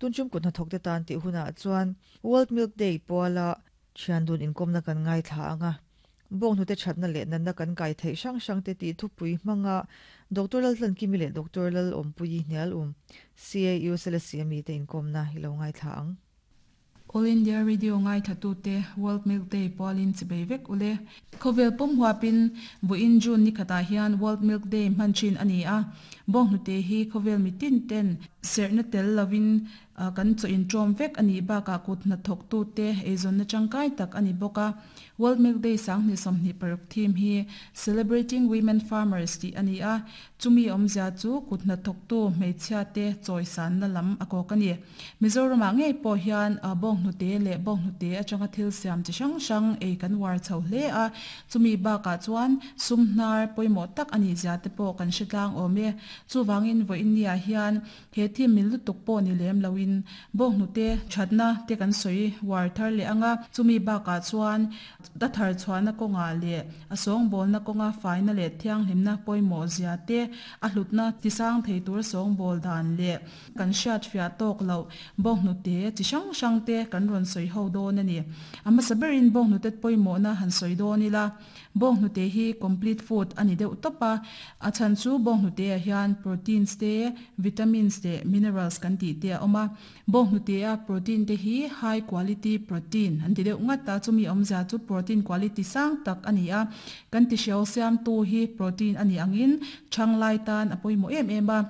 Tunchum kut hnathawkte tan tih hunah chuan World Milk Day puala thian dun inkawmna kan ngaithla ang a. Bawnghnute thatna leh natna kan kai theih hrang hrangte tih thupui hmanga Doctor Laltlankimi leh Doctor Lalawmpuii hnial um CAU Selesih mite inkawmna i lo ngaithla ang. All India Radio ngaithlatute World Milk Day pualin chibei vek ule. Khawvel pum huapin vawiin June ni khatah hian World Milk Day hman thin a ni a. Bawnghnute hi khawvel mitin ten serhna tel lovin kan chaw inṭawm vek a nih bakah kut hnathawktute eizawnna tangkai tak a ni bawk a. World Milk Day 2026 theme hi Celebrating Women Farmers tih a ni a. Chumi awmzia chu kut hnathawktu hmeichhiate chawisanna lam a kawk a ni. Mizoramah ngei pawh hian bawnghnute leh bawnghnute atanga thil siam chi hrang hrang ei kan uar chho hle a, chumi bakah chuan sum hnar pawimawh tak a nih zia te pawh kan hre tlang awm e. Chuvangin vawiinniah hian he thim mil lutuk pawh ni lem loin bawnghnute thatna te kan sawi uar thar leh ang a, chumi bakah chuan a thar chhuahna kawngah leh a sawngbawlna kawnga faina leh thianghlimna pawimawh zia te, a hlutna tisang thei tur sawngbawl dan leh Kan hriat fiah tawk loh bawnghnute chi hrang hrang te kan rawn sawi ho dawn a ni. A hmasa berin bawnghnute pawimawhna han sawi dawn ila, bawnghnute hi complete food a ni deuh tawp a, a chhan chu bawnghnute ah hian proteins te, vitamins leh minerals kan tih te a awm a. Bawnghnute a protein te hi high quality protein an ti deuh ngat a, chumi awmzia chu protein quality sang tak a ni a. Kan ti hriau siamtu hi protein a nih angin chhang lai tan a pawimawh em em a.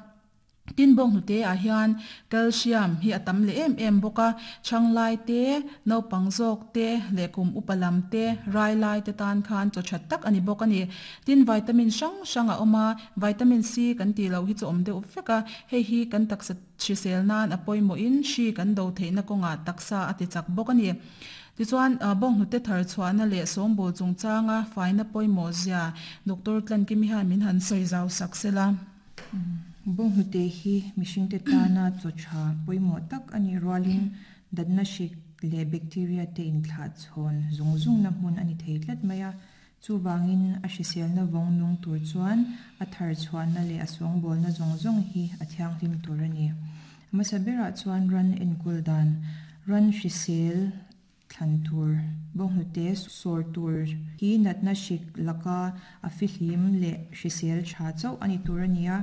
Tin bawnghnute ah hian calcium hi a tam leh em em bawk a, chhanglai te, naupang zawk te leh kum upa lam te, rai lai te tan khan chaw that tak a ni bawk a ni. Tin vitamin hrang hrang a awm a, vitamin C kan tih loh hi chu awm deuh vek a, hei hi kan taksa hrisel nan a pawimawh in hri kan do theihna kawngah taksa a ti chak bawk a ni. Tichuan bawnghnute thar chhuahna leh sawngbawl chungchanga faina pawimawh zia Doctor Tlankimi hian min han sawi zau sak sela. Bawnghnute hi mihringte tana chaw tha pawimawh tak a nih rualin datna hrik leh bacteria te inthlah chhawn zung zungna hmun a ni thei tlat mai a. Chuvangin a hriselna vawng nung tur chuan a thar chhuahna leh a sawngbawlna zawng zawng hi a thianghlim tur a ni. Hmasa berah chuan ran enkawl dan, ran hrisel, Thlan tur, bawnghnute sawr tur hi natna hrik laka a fihlim leh hrisel tha chauh a ni tur a ni a.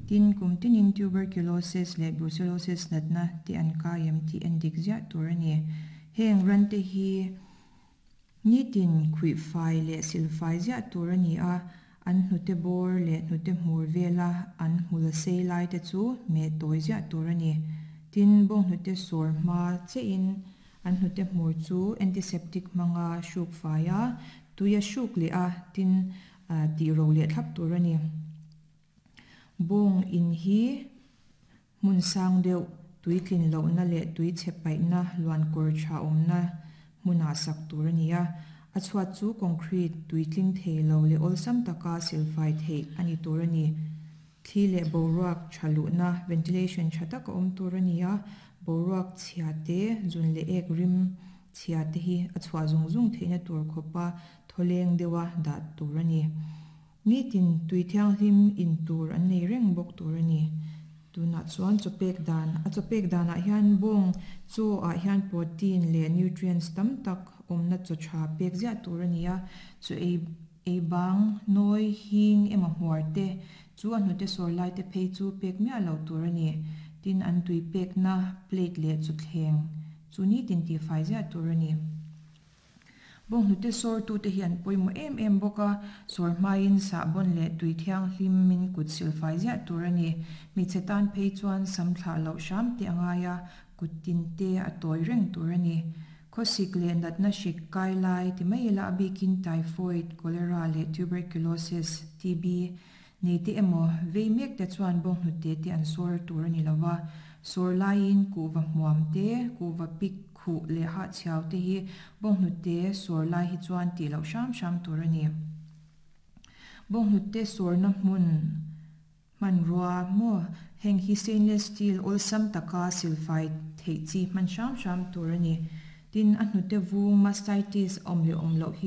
Tin, kum tinin tuberculosis leh brucellosis natna te an kai em tih en dik ziah tur a ni. Heng rante hi nitin khuihfai leh silfai ziah tur a ni a, an hnute bawr leh hnute hmur vela an hmul sei lai te chu meh tawi ziah tur a ni. Tin, bawnghnute sawr hma chiahin An hnute hmur chu antiseptic hmanga hruk fai a, tui a hruk leh a, tin tih ro leh thlap tur a ni. Bawng in hi hmun sang deuh, tui tlin lohna leh tui chhe paihna luan kawr tha awmna hmunah sak tur a ni a. A chhuat chu concrete tui tling thei lo leh awlsam taka silfai theih a ni tur a ni. Thli leh boruak tha luhna, ventilation, tha tak a awm tur a ni a, boruak chhia te, zun leh ek rim chhia te hi a chhuah zung zung theihna tur khawpa thawleng deuha dah tur a ni. Nitin tui thianghlim in tur an nei reng bawk tur a ni. Tunah chuan chawpek dan, a chawpek danah hian bawng chaw ah hian protein leh nutrients tam tak awmna chaw tha pek ziah tur a ni a, chaw ei Ei bang, nawi, hing emaw hmuar te, chu a hnute sawr lai te phei chu pek miah loh tur a ni. Tin, an tui pekna plate leh chawthleng chu nitin tihfai ziah tur a ni. Bawnghnute sawrtute hi an pawimawh em em bawk a, sawr hmain sahbawn leh tui thianghlimin kut silfai ziah tur a ni. Hmeichhe tan phei chuan sam thlah loh hram te a ngai a, kut tin te a tawi reng tur a ni. Khawsik leh natna hrik kai lai ti mai ila a bikin typhoid, cholera leh tuberculosis, TB, nei te emaw vei mek te chuan bawnghnute te an sawr tur a ni lo va, sawr laiin kuhva hmuam te, kuhva pik khuh leh hahchhiau te hi bawnghnute sawr lai hi chuan tih loh hram hram tur a ni. Bawnghnute sawrna hmun. Hmanrua maw? Heng hi stainless steel awlsam taka silfai theih chi hman hram hram tur a ni. Tin, a hnute vung mastitis awm leh awm loh hi.